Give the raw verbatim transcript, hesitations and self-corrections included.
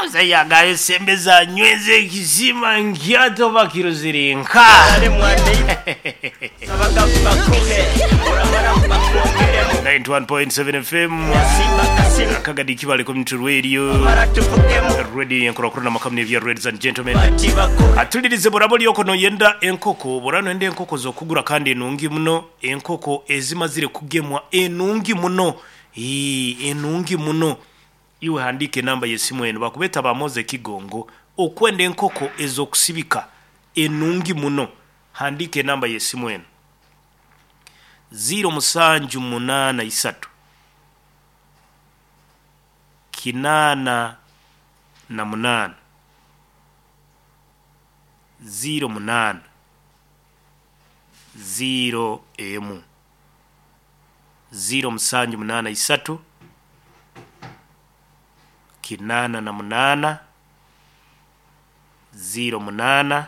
Musajja sembeza nyweze ekizima nkyato bakirozere nka ninety-one point seven F M Kagadi Kibale Community Radio Radio yenkurakuru makamne vya ladies and gentlemen. Atulirize borabo lyoko no yenda enkoko borano ende enkoko zokugura kandi enungi muno enkoko ezimazire kugemwa enungi muno ii enungi muno. Iwe handike namba yesimu eno bakubeta bamoze Kigongo okwenda enkoko ezokusibika enungi muno. Handike namba yesimu eno zero musanju munana isatu kinana na munana zero munana zero emu zero musanju munana isatu kinana na munana zero munana